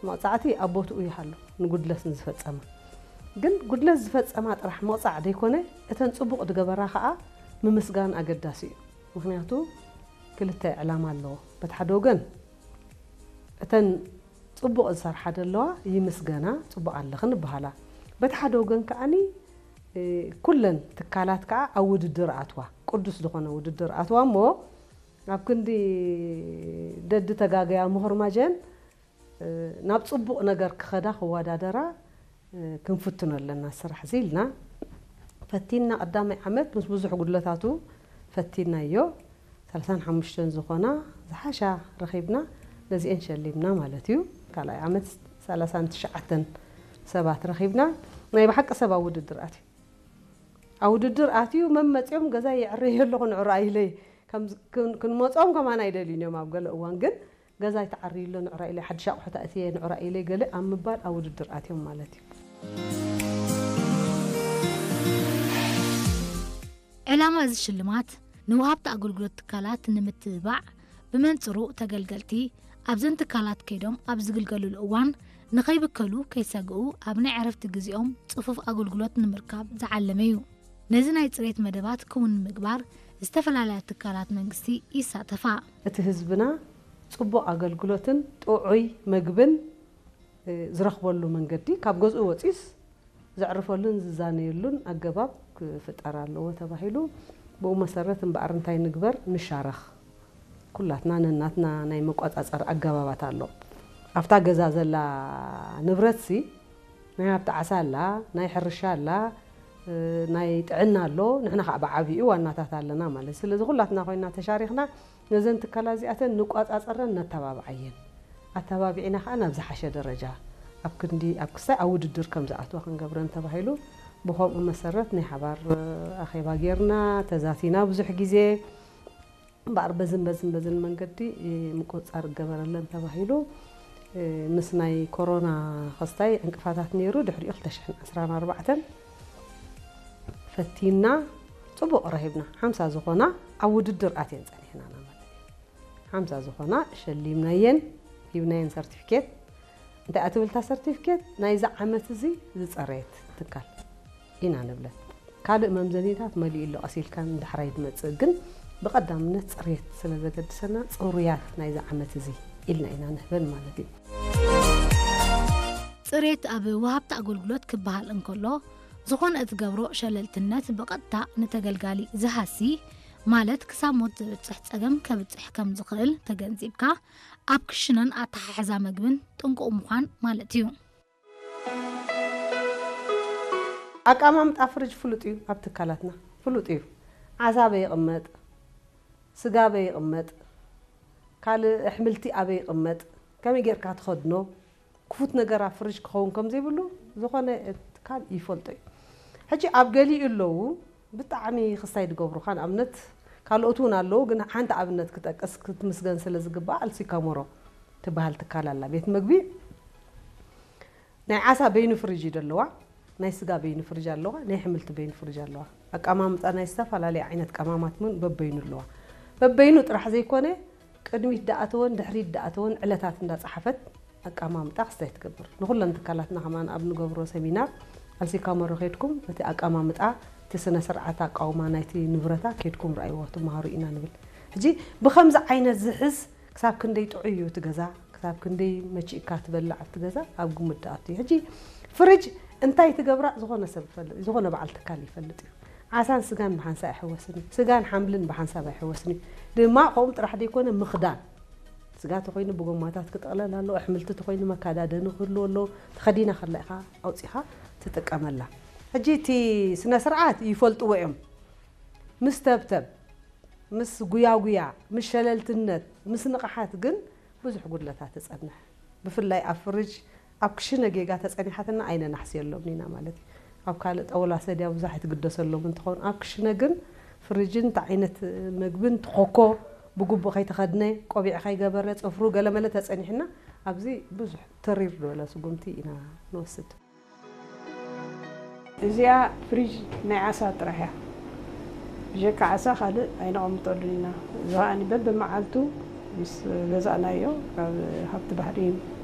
መቕጻዕቲ ኣብ ቦትኡ ይሃሉ፣ ንጉድለት ንዝፈጸማ። ግን ጉድለት ዝፈጸማ ጥራሕ መቕጻዕ ዘይኮነ፣ እተን ጽቡቕ ዝገበራ ከኣ ምምስጋን ኣገዳሲ እዩ። ምኽንያቱ ክልተ ዕላማ ኣለዎ። በቲ ሓደ ወገን እተን ጽቡቕ ዝሰርሓ ዘለዋ ይምስገና፣ ጽቡቕ ኣለኽን ይበሃላ። በቲ ሓደ ወገን ከኣኒ፣ እ፣ ኩለን ትካላት ከኣ ኣብ ውድድር ኣትዋ፣ ቅዱስ ዝኾነ ውድድር ኣትዋ እሞ፣ ኣብ ክንዲ ደዲ ተጋገያ ምኹርማጀን፣ እ፣ ናብ ጽቡቕ ነገር ክኸዳ ክወዳደራ፣ እ፣ ክንፍትኖ ኣለና ስራሕ እዚ ኢልና ፈቲና። ቀዳማይ ዓመት ምስ ብዙሕ ጉድለታቱ ፈቲናዮ። ሰላሳን ሓሙሽተን ዝኾና ዝሓሻ ረኺብና፣ ነዚኤን ሸሊምና ማለት እዩ። ካልኣይ ዓመት ሰላሳን ትሽዓተን ሰባት ረኺብና። ናይ ብሓቂ ሰብ ኣብ ውድድር ኣትዩ፣ ኣብ ውድድር ኣትዩ መመፅኦም ገዛ የዕረየ ኣለኹ ንዕራይ ኢለይ። ከም-፣ ክን-፣ ክንመፅኦም ከማን ኣይደልዩን እዮም። ኣብ ገለ እዋን ግን ገዛ ይተዓርዩ ኣሎ ንዕራይ ኢለይ፣ ሓድሽ ኣቑሑት ኣእትየ ንዕራይ ኢለይ ገለ ኣብ ምባል ኣብ ውድድር ኣትዮም ማለት እዩ። ዕላማ እዚ ሽልማት ንወሃብቲ ኣገልግሎት ትካላት ንምትብባዕ፣ ብመንጽሩ ተገልገልቲ ኣብዘን ትካላት ከይዶም ኣብ ዝግልገልሉ እዋን ንኸይብከሉ ከይሰግኡ ኣብ ናይ ዕረፍቲ ግዜኦም ጽፉፍ ኣገልግሎት ንምርካብ ዝዓለመ እዩ። ነዚ ናይ ጽሬት መደባት ክውን ንምግባር ዝተፈላለያ ትካላት መንግስቲ ይሳተፋ። እቲ ህዝብና ጽቡቕ ኣገልግሎትን ጥዑይ መግብን ዝረኽበሉ መንገዲ ካብ ገዝኡ ወጺኡስ ዘዕርፈሉን ዝዛነየሉን ኣገባብ ክፍጠር ኣለዎ ተባሂሉ። ብኡ መሰረት እምበኣር እንታይ ንግበር? ንሻረኽ። ኩላትና ነናትና ናይ መቋጻጸሪ ኣገባባት ኣሎ። ኣብታ ገዛ ዘላ ንብረትሲ ናይ ሃብቲ ዓሳ ኣላ፣ ናይ ሕርሻ ኣላ፣ ናይ ጥዕና ኣሎ፣ ንሕና ከዓ ብዓብዩ ዋናታት ኣለና ማለት። ስለዚ ኩላትና ኮይና ተሻሪኽና ነዘን ትካላት እዚኣተን ንቋጻጸረን ነተባብዓየን። ኣተባቢዕና ከዓ ናብ ዝሓሸ ደረጃ ኣብ ክንዲ ኣብ ክስታይ ኣብ ውድድር ከም ዝኣትዋ ክንገብረን ተባሂሉ ብኸምኡ መሰረት ናይ ሓባር ኣኼባ ጌርና ተዛቲና ብዙሕ ግዜ። እምበኣር በዝን በዝን በዝን መንገዲ ምቁፅፃር ይገበረለን ተባሂሉ ምስ ናይ ኮሮና ክስታይ ዕንቅፋታት ነይሩ። ድሕሪኡ ክልተ ሽሕን ዕስራን ኣርባዕተን ፈቲና ፅቡቕ ረኺብና ሓምሳ ዝኾና ኣብ ውድድር ኣትየን ፀኒሕናና ማለት እዩ። ሓምሳ ዝኾና ሸሊምናየን ሂብናየን ሰርቲፊኬት። እንታይ እያ ትብል እታ ሰርቲፊኬት? ናይዚ ዓመት እዚ ዝፀረየት ትካል ኢና ንብለን። ካልእ መምዘኒታት መሊኡ ኣሎ ቀስ ኢልካ ንዳሕራይ ዝመፅእ ግን ብቐዳምነት ፅሬት ስለ ዘገድሰና ፅሩያት ናይዚ ዓመት እዚ ኢልና ኢና ንህበን ማለት እዩ። ፅሬት ኣብ ወሃብቲ ኣገልግሎት ክበሃል እንከሎ ዝኾነ እትገብሮ ሸለልትነት ብቐጥታ ንተገልጋሊ ዝሃሲ ማለት ክሳብ ሞት ዘብፅሕ ፀገም ከብፅሕ ከም ዝኽእል ተገንዚብካ ኣብ ክሽነን ኣተሓሕዛ መግብን ጥንቁቕ ምዃን ማለት እዩ። ኣቀማምጣ ፍርጅ ፍሉጥ እዩ፣ ኣብ ትካላትና ፍሉጥ እዩ። ዓሳ ኣበይ ይቕመጥ፣ ስጋ ኣበይ ይቕመጥ፣ ካልእ ኣሕምልቲ ኣበይ ይቕመጥ፣ ከመይ ጌርካ ትኸድኖ፣ ክፉት ነገር ኣብ ፍርጅ ክኸውን ከም ዘይብሉ ዝኾነ ትካል ይፈልጦ እዩ። ሕጂ ኣብ ገሊኡ ኣለዉ ብጣዕሚ ክስታይ ዝገብሩኻ፣ ንኣብነት ካልኦት እውን ኣለዉ፣ ግን ሓንቲ ኣብነት ክጠቅስ ክትምስገን ስለ ዝግባእ ኣልሲካሞሮ ትበሃል ትካል ኣላ። ቤት መግቢ ናይ ዓሳ በይኑ ፍርጅ እዩ ዘለዋ፣ ናይ ስጋ በይኑ ፍርጅ ኣለዋ፣ ናይ ኣሕምልቲ በይኑ ፍርጅ ኣለዋ። ኣቀማምጣ ናይ ዝተፈላለየ ዓይነት ቀማማት እውን በበይኑ ኣለዋ። በበይኑ ጥራሕ ዘይኮነ ቅድሚት ደኣተወን ድሕሪት ደኣተወን ዕለታት እንዳፀሓፈት ኣቀማምጣ ክስታይ ትገብር። ንኹለን ትካላትና ከማን ኣብ ንገብሮ ሰሚናር ኣልሲካሞሮ ከይድኩም እቲ ኣቀማምጣ እቲ ስነ ስርዓት ኣቃውማ ናይቲ ንብረታ ከይድኩም ረኣይዎ ትመሃሩ ኢና ንብል። ሕጂ ብኸምዚ ዓይነት ዝሕዝ ክሳብ ክንደይ ጥዑይ እዩ እቲ ገዛ፣ ክሳብ ክንደይ መቺእካ ትበልዕ ኣብቲ ገዛ ኣብ ግምት ድኣቱ እዩ። ሕጂ ፍርጅ እንታይ ትገብራ ዝኾነ ሰብ ይፈልጥ፣ ዝኾነ በዓል ትካል ይፈልጥ እዩ። ዓሳን ስጋን ብሓንሳብ ኣይሕወስን እዩ። ስጋን ሓምልን ብሓንሳብ ኣይሕወስን እዩ። ድማ ከምኡ ጥራሕ ዘይኮነ ምኽዳን ስጋ ተኾይኑ ብጎማታት ክጥቕለል ኣለዎ። ኣሕምልቲ ተኾይኑ መካዳደኒ ክህልዎ ኣለዎ። ተኸዲና ከላ ኢኻ ኣውፂኻ ትጥቀመላ። ሕጂ እቲ ስነ ስርዓት ይፈልጥዎ እዮም። ምስ ተብተብ፣ ምስ ጉያጉያ፣ ምስ ሸለልትነት፣ ምስ ንቕሓት ግን ብዙሕ ጉድለታት ትፀንሕ። ብፍላይ ኣብ ፍርጅ ኣብ ክሽነ ጌጋ ተጸኒሓትና ኣይነናሕስየሎምን ኢና ማለት እዩ። ኣብ ካልእ ጠውላ ሰድያ ብዙሕ ኣይትግደሰሎም እንትኸውን ኣብ ክሽነ ግን ፍርጅን እንታይ ዓይነት ምግብን ትኾኮ ብግቡእ ከይተኸድነ ቆቢዕ ከይገበረ ጽፍሩ ገለመለ ተጸኒሕና ኣብዚ ብዙሕ ተሪር ዝበለ ስጉምቲ ኢና ንወስድ። እዚኣ ፍሪጅ ናይ ዓሳ ጥራሕ እያ። ብጀካ ዓሳ ካልእ ኣይነቐምጠሉን ኢና። እዚ ከኣ በብመዓልቱ ምስ ገዛእናዮ ካብ ሃብቲ ባሕሪ